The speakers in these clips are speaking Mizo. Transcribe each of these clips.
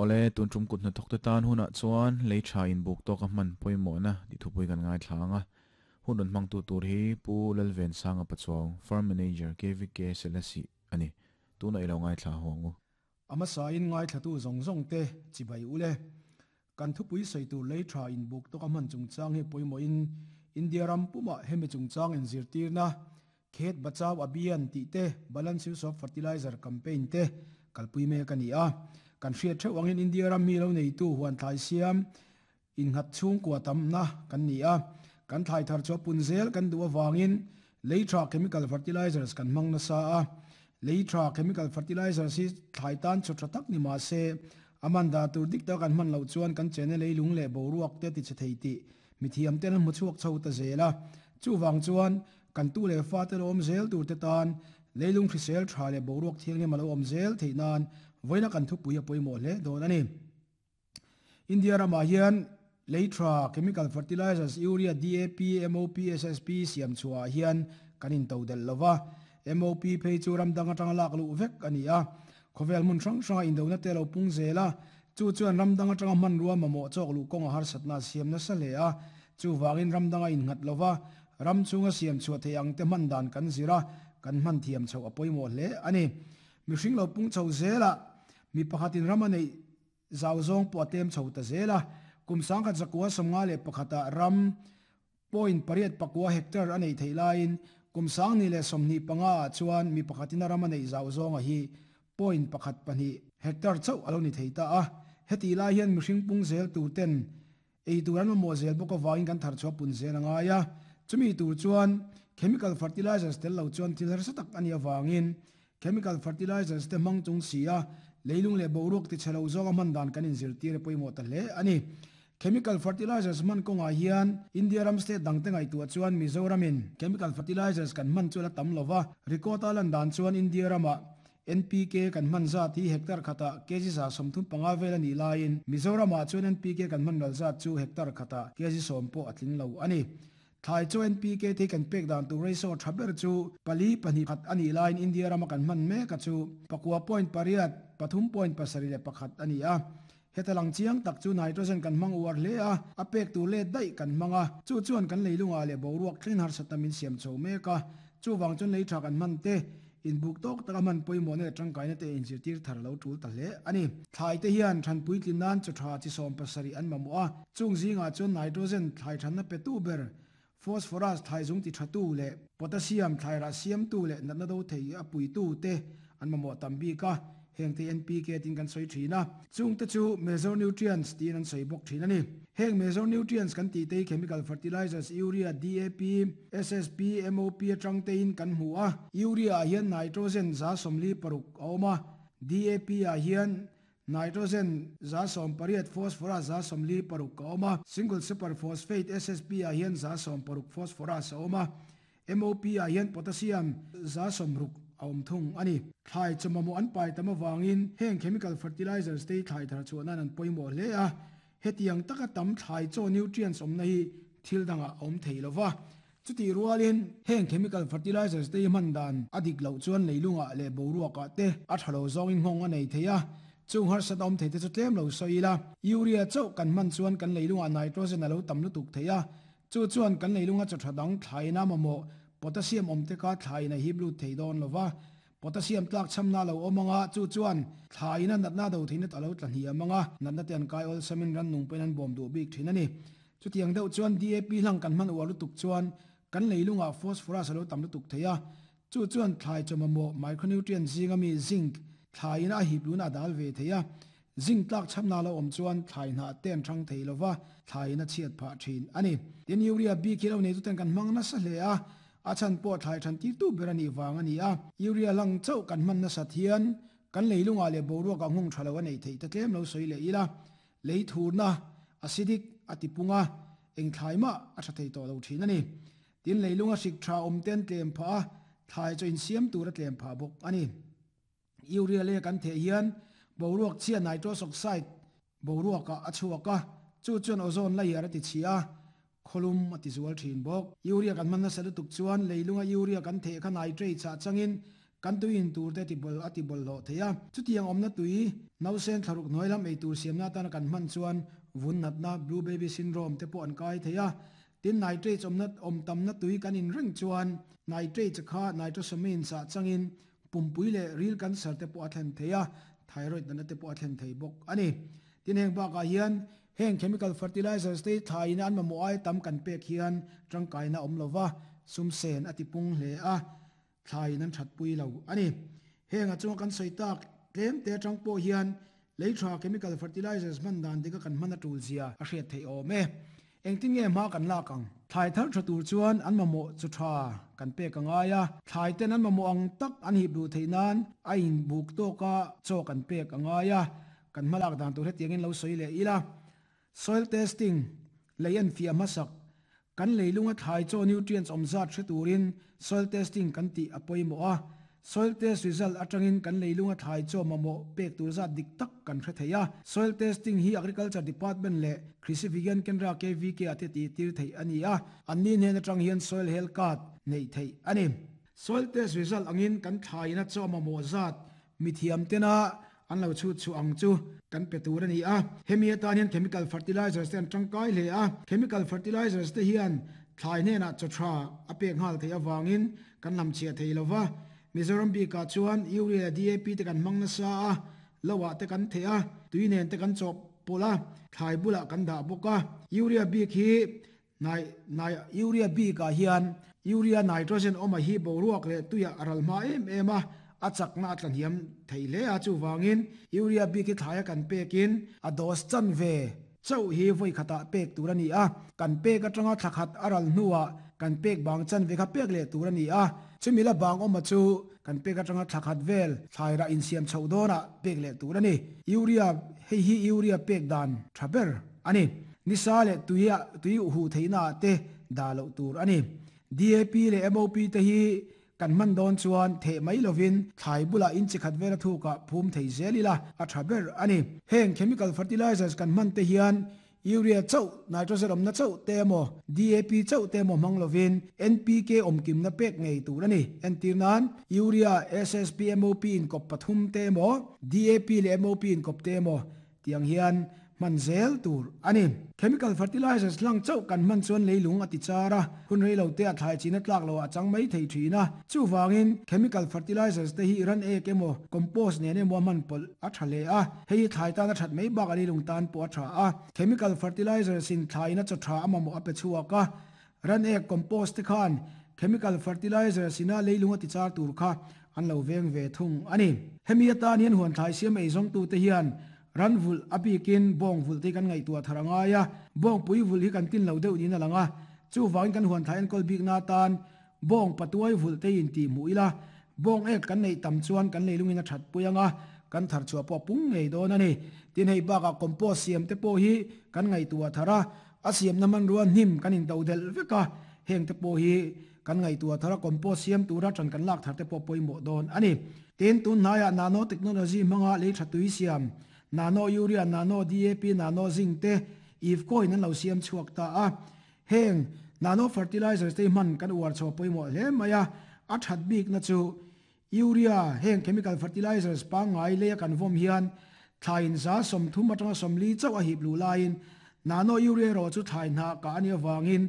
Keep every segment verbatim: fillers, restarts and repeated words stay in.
Ole tun tum kut na thok te tan huna chuan lei tha in buk to ka man poimo na ti thupui kan ngai thlanga hun ron mang tu tur hi pu Lalven Sanga Pachuau farm manager K V K Selasi ani tuna ilo ngai thla hongu ama sa in ngai thla tu zong zong te chibai ule kan thupui sei tu lei tha in buk to ka man chung chang he poimo in India ram puma hemi chung chang in zirtir na Khet Bachao Abhiyan ti te balance use of fertilizer campaign te kalpui me kani a kan hriat theu angin India ram mi lo nei tu huan thlai siam in ngat chung kwa tam na kan ni a kan thlai thar chu punzel kan duwa wangin leitra chemical fertilizers kan mang na sa a leitra chemical fertilizers hi thlai tan chu tak ni ma se amanda tur dik ta kan man lo chuan kan chene leilung le boruak te ti che thei ti mithiam ten mu chuak chho ta zela chu wang chuan kan tu le fa te lom zel tur te tan leilung hrisel tha le boruak thiang ni malo om zel theinan voina kan thu puia poimo le don ani India rama hian leitra chemical fertilizers urea D A P M O P S S P siam chua hian kanin to del lova M O P phei chu ram danga tang lak lu vek ani a khovel mun sang sang indona te lo pung zela chu chuan ram danga tanga man ruwa mamo chok lu kong har satna siam na sa le a chu wangin ram danga in ngat lova ram chunga siam chua theiang te man dan kan zira kan man thiam chho apoimo hle ani mi hring lo pung chho zela mi pakhatin ramane zawzong po tem chho ta zela kumsang khat zakwa somnga le pakhata ram point pariat pakwa hectare anei theilain kumsang ni le somni panga chuan mi pakhatin ramane zawzong a hi point pakhat pani hectare chau aloni theita a heti lai hian mihring pung zel tu ten ei turan mo zel boka wangin kan thar chho pun zel anga ya chumi tur chuan chemical fertilizers tel lo chuan thil har satak ani awangin chemical fertilizers te mang chung sia leilung le boruak ti chelo zonga man dan kanin zir tir poimo ta hle ani chemical fertilizers man konga hian India ram state dang te ngai tu chuan Mizoramin chemical fertilizers kan man chula tam lova rikota lan dan chuan India rama N P K kan man za thi hectare khata kg za somthum panga vel ani lain Mizorama chuan N P K kan man ral za chu hectare khata kg som po atling lo ani thai chu N P K the kan pek dan tu ratio thaber chu pali pani khat ani line India rama kan man me ka chu pakwa point pariat pathum point pasari le pakhat ani a hetalang chiang tak chu nitrogen kan mang uar le a apek tu le dai kan manga chu chuan kan leilunga le boruak thlin har satamin siam cho me ka chu wang chun lei tha kan man te in buk tok taka man poimo ne tangkai na te in zirtir thar lo tul ta hle ani thlai te hian thanpui tlinan chu tha chi som pasari an mamu a chung zinga chun nitrogen thlai than na pe tu ber phosphorus thlai zung ti thatu le potassium thlai ra siam tu le natna do thei a pui tu te an mamo tambi ka heng te N P K tin kan soi thina chung te chu major nutrients tin an soi bok thina ni heng major nutrients kan ti te chemical fertilizers urea D A P S S P M O P atang te in kan hu a urea hian nitrogen za somli paruk awma D A P a hian nitrogen za som pariat phosphorus za somli paruk awma single super phosphate S S P a hian za som paruk phosphorus awma M O P a hian potassium za somruk awm thung ani thlai chumamo an pai tama wangin heng chemical fertilizers te thlai thar chuan an poimo hle a hetiang taka tam thlai chaw nutrients awm na hi thil danga awm thei lova chuti rualin heng chemical fertilizers te man dan adik lo chuan leilunga le boruaka te a thalo zawngin nghong a nei theia chung har sat awm thei te chu tlem lo soila urea chaw kan man chuan kan leilunga nitrogen alo tam lutuk theia chu chuan kan leilunga chaw thadang thlai na mamo potassium om te ka thlai na hi blu thei don lova potassium tlak chamna lo omanga chu chuan thlai na natna do theina talo tlani amanga natna ten kai ol samin ran nung pen an bom du bik thin ani chu tiang deuh chuan D A P hlang kan man uar lutuk chuan kan leilunga phosphorus alo tam lutuk theia chu chuan thlai chomamo micronutrient zinga mi zinc thlai na hi blu na dal ve theia zinc tlak chamna lo om chuan thlai na ten thang thei lova thlai na chiat pha thin ani tin urea b kilo nei chu ten kan mang na sa hle a a chan po thlai than ti tu berani wang ani a urea lang chau kan man na sathian kan leilunga le boruak ang hung thalo nei thei ta tlem lo soi le ila lei thurna acidic atipunga eng thlai ma a tha thei to lo thin ani tin leilunga sik tha om ten tlem pha thlai cho in siam tur a tlem pha bok ani urea le kan the hian boruak chia nitrous oxide boruak a achuaka chu chuan ozone layer ati chia kholum ati zual thin bok urea kan man na salu tuk chuan leilunga urea kan the kha nitrate cha changin Kan tuin tur te ti bol ati bol lo theia chutiang omna tui nausen tharuk noilam ei tur siamna tan kan man chuan vun natna blue baby syndrome te po an kai theia tin nitrates omna om tamna tui kan in ring chuan nitrate kha nitrosamine sa changin pumpui le ril cancer te po athen theia thyroid na te po athen thei bok ani tin heng ba ka hian heng chemical fertilizers te thaina an mamo ai tam kan pek hian tangkaina om lova sumsen atipung hle a thain an that pui lo ani heng a chung kan soitak tlem te tang po hian leithra chemical fertilizers man dan dika kan mana tul zia a hriat thei awm e engtin nge ma kan lakang thlai thar tha tur chuan an mamo chu tha kan pe ka ngaia thlai ten an mamo ang tak an hi blu theinan a in buk to ka chaw kan pe ka ngaia kan malak dan tur hetiangin lo soi le ila soil testing leian fia masak kan leilunga thlai chaw nutrients omzat hre turin soil testing kan ti apoimo a soil test result atangin kan leilunga thlai chaw mamo pek tur zat dik tak kan hre theia soil testing hi agriculture department le Krishi Vigyan Kendra K V K ate ti tir thei ani a anni hnen atang hian soil health card nei thei ani soil test result angin kan thlaina chaw mamo zat mithiam tena an lo chu chu ang chu kan pe tur ani a hemi atan hian chemical fertilizers te an tangkai hle a chemical fertilizers te hian thlai hnena chaw tha a pek nghal thei awangin kan lam chhia thei lova Mizoram bi ka chuan urea D A P te kan mangna sa a lowa te kan the a tuinen te kan chop pola thlai bula kan da boka urea bi khi nai nai urea bi ka hian urea nitrogen oma hi boruak le tuya aral ma em em a a chakna atlan hiam theile a chu wangin urea bi ki thlaya kan pekin a dos chan ve chau hi voi khata pek turani a kan pek atanga thlakhat aral nuwa kan pek bang chan ve kha pek le turani a chumila bang oma chu kan pek atanga thlakhat vel thlaira in siam chhodona pek le turani urea hei hi urea pek dan thaber ani nisa le tuya tui hu theina te dalo tur ani D A P le M O P te hi kan man don chuan the mai lovin thlai bula in chikhat vela thuka phum thei zelila a thaber ani heng chemical fertilizers kan man te hian urea chau nitrogen omna chau temo D A P chau temo manglovin N P K omkim na pek ngei tur ani entirnan urea S S P M O P in kop pathum temo D A P le M O P in kop temo tiang hian manzel tur ani chemical fertilizers lang chau kan man chuan leilung ati chara hun reilo te a thlai china tlak lo a chang mai thei thina chuwangin chemical fertilizers te hi ran ek emo compost ne ne mo man pol a thale a hei thlai ta na that mai bak ali lung tan po tha a chemical fertilizers in thlai na chaw tha amamo a pe chuaka ran ek compost te khan chemical fertilizers ina leilung ati char tur kha an lo veng ve thung ani hemi atan hian huan thlai siam ei zong tu te hian ran vul apikin bong vul te kan ngai tua tharanga ya bong pui vul hi kan tin lo deuh ni na langa chu wang kan huan thain kol bik na tan bong patuai vul te in ti muila bong ek kan nei tam chuan kan leilungin a that puianga kan thar chua po pung ngei don ani tin hei baka compost siam te po hi kan ngai tua thara a siam na man ruan hnim kan in do del veka heng te po hi kan ngai tua thara compost siam tura than kan lak thar te po poimo don ani tin tun naya nano technology manga le thatui siam nano urea nano D A P nano zinc te if coin an lo siam chuak ta a heng nano fertilizers te man kan uar chaw poimo hle maya a that bik na chu urea heng chemical fertilizers pa ngai le kan vom hian thain za som thum atanga somli chaw a hip lu lain nano urea ro chu thain ha ka ani awangin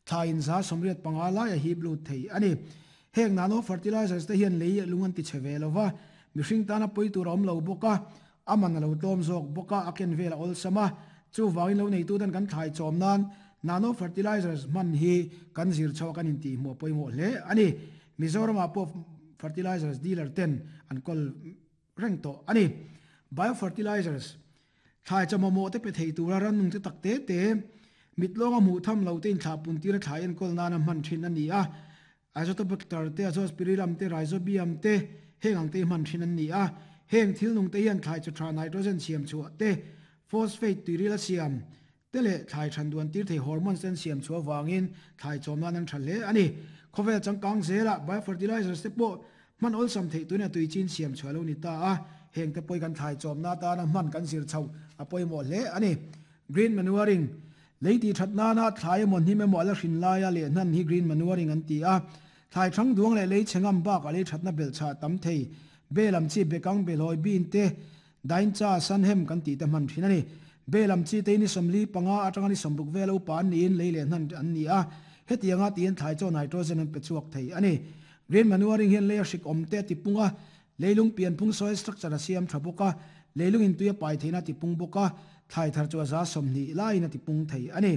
thain za somriat panga lai a hip lu thei ani heng nano fertilizers te hian lei lungan ti cheve lova mihring tana poi tur om lo boka aman lo tom zok boka aken vela ol sama chu wangin lo nei tu dan kan thlai chom nan nano fertilizers man hi kan zir chaw kan in ti mo poimo hle ani Mizoram a po fertilizers dealer ten an kol reng to ani biofertilizers thlai chamo mo te pe thei tura ran nung te tak te te mitlonga mu tham lo te in thla pun tira thlai en kol nana man thin ani a azotobacter te azospirillum te rhizobium te heng ang te man thin ani a heng thil nung te hian thlai chu tha nitrogen siam chu te phosphate tuirila siam tele thlai than duan tir thei hormones ten siam chu awangin thlai chawm nan an thale ani khovel changkang zela biofertilizers te po man ol sam thei tuna tui chin siam chu alo ni ta a heng te poi kan thlai chawm na ta na man kan zir chau a poimo hle ani green manuring leiti thatna na thlai mon hi me mo ala hrin laia le nan hi green manuring an ti a Thai thang duang le lei chengam ba ka lei thatna bel cha tam thei belam chi bekang belhoi bin te dain cha san hem kan ti te man thin ani belam chi te ni somli panga atanga ni somruk velo pan ni in leile nan an ni a hetianga tin thai chaw nitrogen an pe chuak thei ani green manuring hian le hrik om te ti punga leilung pian phung soil structure a siam thabuka leilung in tuya pai theina ti pung boka thai thar chu za somni lai na ti pung thei ani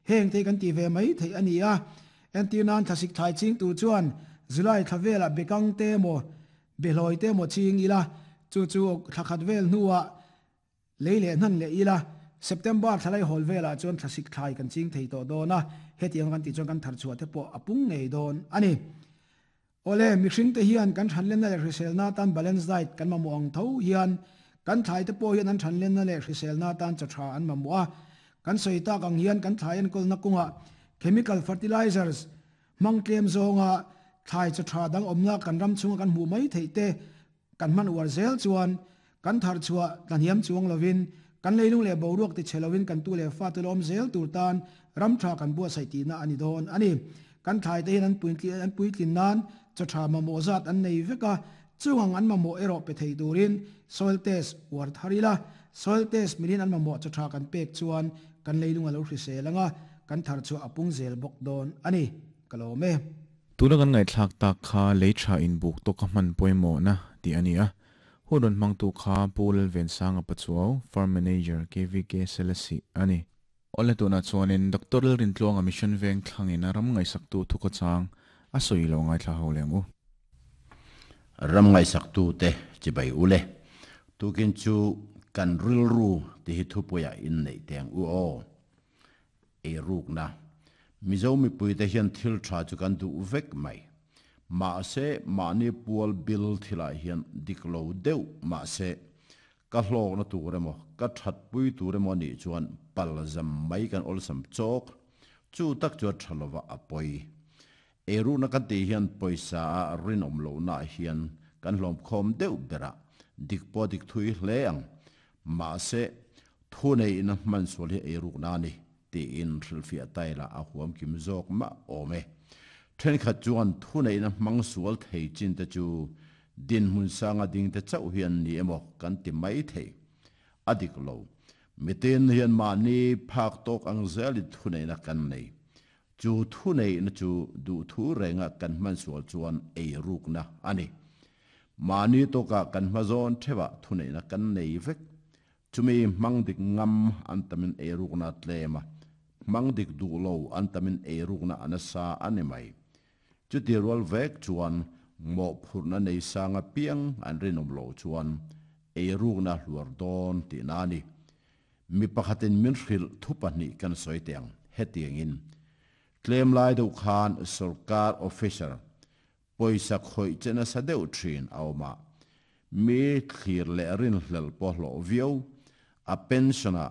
heng te kan ti ve mai thei ani a entinan thasik thai ching tu chuan July thavela bekang te mo behloi te mo ching ila chu chu thakhat vel nuwa leile nan le ila September thalai hol vela chuan thasik thai kan ching thei to dona hetiang kan ti chuan kan thar chua te po apung ngei don ani ole mixing te hian kan thanlen na le hrisel na tan balance diet kan ma muang tho hian kan thai te po hian an thanlen na le hrisel na tan cha tha an ma mu'a kan soita kang hian kan thai an kol na kunga chemical fertilizers mangtlem zonga thai cha tha dang omna kan ram chunga kan mu mai thei te kan man war zel chuan kan thar chua kan hiam chuang lovin kan leilung le boruak ti chelowin kan tu le fa tu lom zel tur tan ram tha kan bua sai ti na ani don ani kan thai te hian an puitli an puitlin nan cha tha ma mo zat an nei veka chuang an ma mo ero pe thei turin soil test war tharila soil test milin an ma mo cha tha kan pek chuan kan leilung alo hriselanga kan thar chu apung zel bok don ani kalome tuna kan ngai thlak tak kha leitha in buk to ka man poimo na ti ani a huron mangtu kha pul ven sanga pachuaw farm manager K V K Selasi ani ole tuna chuanin Doctor Rin Tluanga mission veng thlangin ram ngai saktu thuka chang a soilo ngai thla holengu ram ngai saktu te chibai ule tukin chu kan ril ru ti hi thupuya in nei teng u o e ruk na mizo mi pui te hian thil tha chu kan du vek mai ma se mani pual bil thila hian diklo deuh ma se ka hlok na tur emaw ka that pui tur emaw ni chuan pal zam mai kan ol sam chok chu tak chu thalova apoi eru na kan ti hian poisa rin om lo na hian kan hlom khom deuh bera dik po dik thui hle ang ma se thu nei in man sol hi eru na ni ti in thilfia taila a huam kim zok ma ome then khat chuan thu nei na mang sual thei chin te chu din hun sanga ding te chau hian ni emaw kan ti mai thei adik lo miten hian ma ni phak tok ang zel thu nei na kan nei chu thu nei na chu du thu renga kan man sual chuan ei ruk na ani mani to ka kan ma zon thewa thu nei na kan nei vek chumi mang dik ngam an tamin ei ruk na tlema mang dik du lo an tamin ei ruk na anasa ani mai chu ti rol vek chuan mo phurna nei sanga piang an rinom lo chuan ei ruk na hluar don ti na ni mi pakhatin min hril thupani kan soi teng hetiangin claim lai do khan sarkar officer poisa khoi chena sa deuh thin awma mi thlir le rin hlel po hlo viau a pensiona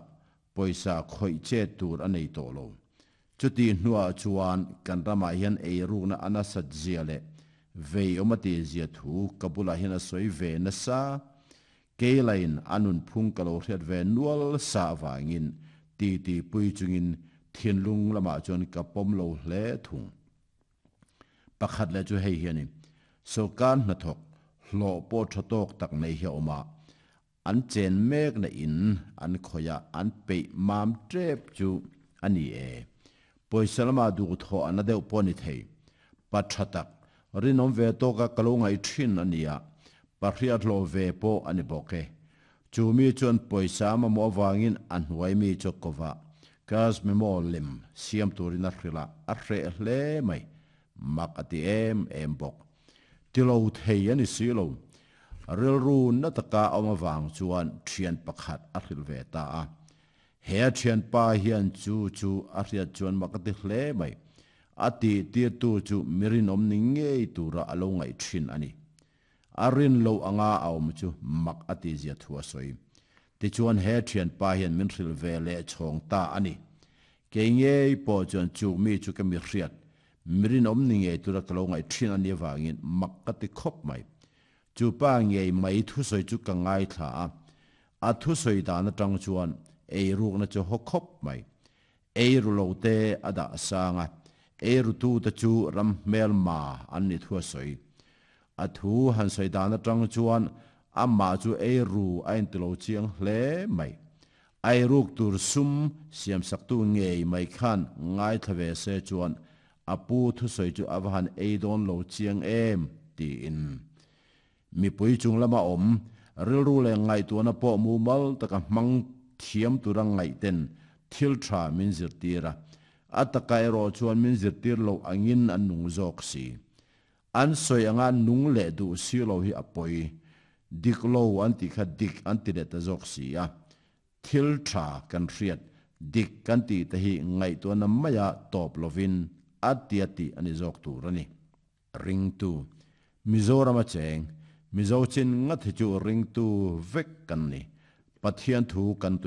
poisa khoi che tur anei to lo chuti hnua chuan kan rama hian ei rukna ana sat zia le vei omati zia thu kabula hian a soi ve na sa keilain anun phung kalo hriat ve nual sa wangin ti ti pui chungin thinlung lama chuan ka pom lo hle thung pakhat le chu hei hiani sarkar hna thok hlo po thatok tak nei hi oma an chen mek na in an khoya an pe mam trep chu ani e poisalama du tho ana deuh poni thei pathatak rinom ve to ka kalongai thin ania pahriat lo ve po ani boke chu mi chuan poisa ma mo wangin an huai mi chokova kas mi mo lim siam turina hrila a hre hle mai mak ati em em bok tilo thei ani silo rilru na taka awma wang chuan thian pakhat a hril ve ta a he thian pa hian chu chu a hriat chuan makati hle mai ati tir tu chu mirin om ni ngei tura alo ngai thin ani arin lo anga awm chu mak ati zia thua soi ti chuan he thian pa hian min hril ve le chhong ta ani ke ngei po chuan chu mi chu ka mi hriat mirin om ni ngei tura kalo ngai thin ani wangin mak ati khop mai chu pa ngei mai thu soi chu ka ngai thla a a thu soi da na tang chuan ei ruk na chu ho khop mai ei ru lo te ada sanga Eirutu te chu ram hmel ma an ni thua soi. A thu han soi dan atang chuan amma chu eiru a in tilo chiang hle mai. Ai ruk tur sum siam saktu ngei mai khan ngai thave se chuan apu thu soi chu avahan eidon lo chiang em ti in. Mi pui chung lama om rilru le ngai tu na po mu mal taka mang thiam turang ngai ten thil tha min zir tira. Ataka ero chuan min zir tir lo angin an nung zok si. An soi anga nung le du si lo hi apoi. Dik lo an ti kha dik an ti le ta zok si a. Thil tha kan riat dik kan ti te hi ngai tu na maya top lovin atiati ani zok tur ani. Ring tu Mizoram a cheng Mizo chin nga the chu ring tu vek kan ni. Pathian thu kan tui